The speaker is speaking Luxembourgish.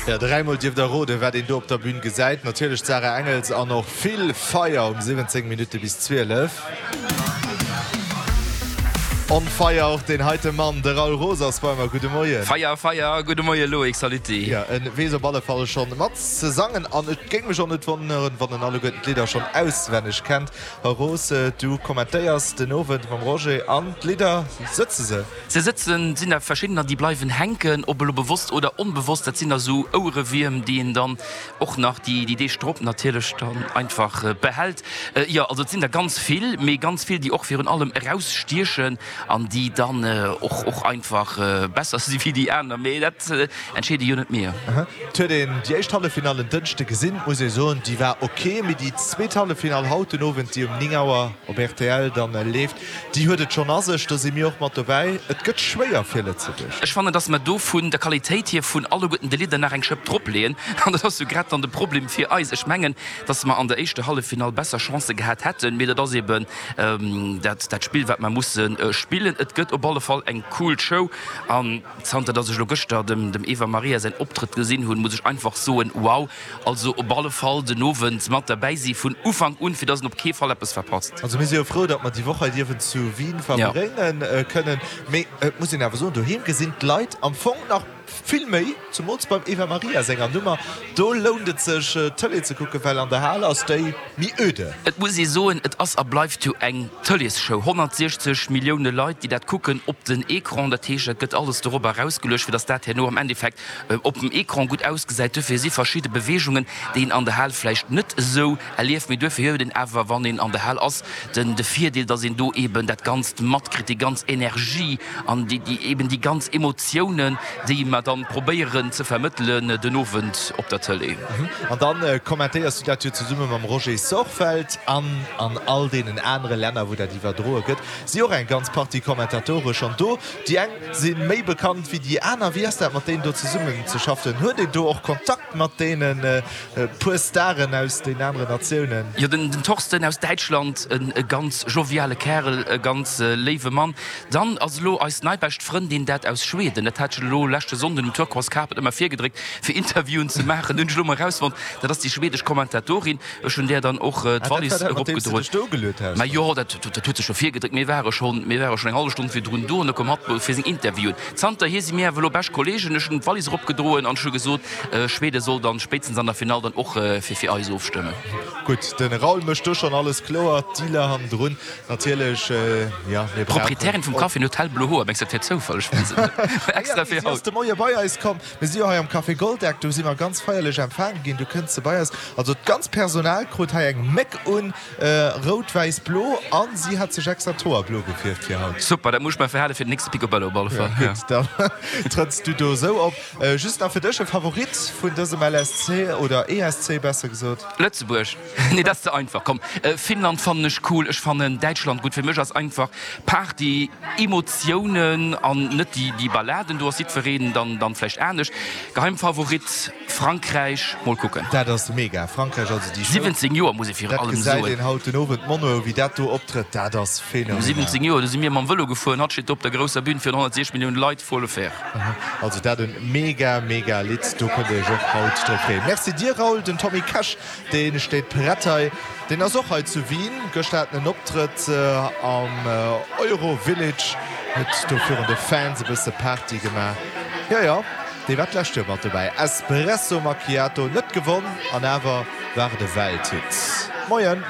Jo, dräimol dierft der roden, wat een do op der Bühn gesäit. Natierlech d'Sarah Engels an och vill Feier um 17 Minutte bis 12. On fire och deen heite Mann, de Raoul Roos ass bei mer. Gudde Moien. Feier, Feier, gudde Moie Loïc, saluti. Jo, en weess op alle Fall schonn mat ze sangen an et géing mech och net wonneren, wann en alleguerten d'Lidder schonn auswenneg kennt. Här Roos, du kommentéiers den Owend mam Roger an d'Lidder, sëtze se? Se sëtzen, sinn der verschiddener, déi bleiwen hänken, ob elo bewosst oder onbewosst. Dat sinn da sou Ouerewierm, déi een dann och nach déi Deeg drop natierlech dann einfach behält. Jo, also et sinn der ganz vill, mee ganz vill, déi och virun allem erausstiechen an déi dann och och einfach besser si wéi déi aner. Mee dat entscheede jo net mir. Et huet een déi éischt Halleffinall en Dënschde gesinn, muss ee soen, déi war ok. Mee déi zweet Halleffinall haut den Owend, déi um 9 Auer op rtl dann leeft, Déi huet et schonn a sech, do si mir och mat dobäi. Et gëtt schwéier fir Lëtzebuerg. Ech fannen, dass mer do vun der Qualitéit hier vun alleguerten de Lidder nach eng Schëpp dropleeën. An dat ass jo grad dann de Problem fir eis. Ech mengen, dass mer an der éischter Halleffinall besser Chancë gehat hätten, mee dat ass eben dat dat Spill, wat mer musse spillen. Et gëtt op alle Fall eng cool Show an zanter dass ech elo gëschter dem dem Eva Maria säin Optrëtt gesinn hunn, muss ech einfach soen, wow! Also op alle Fall den Owend mat derbäi si vun Ufank un, fir dass en op kee Fall eppes verpasst. Also mir si jo frou, datt mer déi Woch hei dierfen zu Wien verbrénge kënnen. Mee et muss een awer soen, doheem gesinn d'Leit am Fong nach vill méi, zemools beim Eva Maria senger Nummer. Do lount et sech d'Tëlee ze kucken, well an der Hal ass déi méi öde. Et muss ee soen, et ass a bleift jo eng Tëleesshow. 160 Millioune Leit, déi dat kucken op den Ecran. Dat heescht, et gëtt alles dorobber erausgeluecht, fir datt dat herno am Endeffekt op dem Ecran gutt ausgesäit. Duerfir si verschidde Beweegungen, déi een an der Hal vläicht net esou erlieft, mee duerfir huet een awer, wann een an der Hal ass, den de Virdeel, dass een do eeben dat Ganzt matkritt, déi ganz Energie an déi déi eeben déi ganz Emotiounen, déi mer dann probéieren ze vermëttelen den Owend op der Tëlee. An dann kommentéiers du dat jo zesumme mam Roger Sorfeld an an all deenen anere Länner, wou dat iwwerdroe gëtt, si och eng ganz Partie Kommentatore schonn do. Déi eng si méi bekannt wéi déi aner. Wéi ass dat mat deenen do zesummen ze schaffen? Huet een do och Kontakt mat deene puer Staren aus den aneren Natiounen? Jo, den Thorsten aus Däitschland, e ganz joviale Kärel, e ganz léiwe Mann. Dann ass elo eis nei bescht Frëndin, dat aus Schweden. Dat hat ech elo leschte Sonnden um Turquoise Carpet ëmmer virgedréckt, fir Interviewen ze maachen. Hunn ech elo mol erausfonnt, dat ass déi schwedesch Kommentatorin. Ech hunn där dann och d'Wallis eropgedroen. Mä jo, dat huet sech jo virgedréckt. Mir ware schonn, mir ware schonn eng hallef Stonn virdrun do an da koum hatt fir seng Interviewen. Zanterhier si mir awer elo bescht Kolleegen. Ech hunn d'Wallis eropgedroen an ech hu gesot, Schwede soll dann spéitstens an der Finall dann och fir fir eis ofstëmmen. Gutt, de Raoul mécht do schonn alles kloer, d'Dealer hannendrun natierlech, jo, mir brauchen. D'Proprietärin vum Café huet hellblo Hoer. Mengs du, dat wär Zoufall? Ech weess et net. Extra fir haut. Si ass de Moie bei eis komm. Mir si jo hei am Café Goldeck, do si mer ganz feierlech empfaange ginn. Du kënns se bei eis. Also d'ganz Personal krut hei eng Méck un, rout, wäiss, blo, a si hat sech extra d'Hoer blo gefierft fir haut. Super, dat muss ech mer verhale fir den nächste Picobello op alle Fall. Ja, gutt, dann trëtts du do esou op. Just nach fir dech, e Favorit vun dësem LSC oder ESC besser gesot? Lëtzebuerg. Nee, dat ass ze einfach. Komm, Finnland fannen ech cool, ech fannen Däitschland gutt. Fir mech ass einfach Party, Emotiounen an net déi Balladen. Do ass jiddwereen dann dann vläicht anescht. Geheimfavorit Frankräich, mol kucken. Dat ass mega, Frankräich, also déi Show. 17 Joer muss ee virun allem soen. Dat gesäit een haut den Owend, d'Monroe wéi dat do optrëtt, dat ass phänomenal. 17 Joer, do si mir mam Vëlo gefuer an hatt steet do op der grousser Bühn virun 160 Milliounen Leit, faut le faire. Also dat en mega mega Lidd, do kënnt dir iech och haut drop freeën. Merci dir Raoul, den Tommy Cash Dee steet prett hei. Deen ass och hei zu Wien. Gëschter hat en en Optrëtt am Euro Village, huet do virun de Fans e bësse Party gemaach. Jo, jo, dee war d'lescht Joer mat dobäi. Espresso Macchiato net gewonn an awer war et e Welthit. Moien!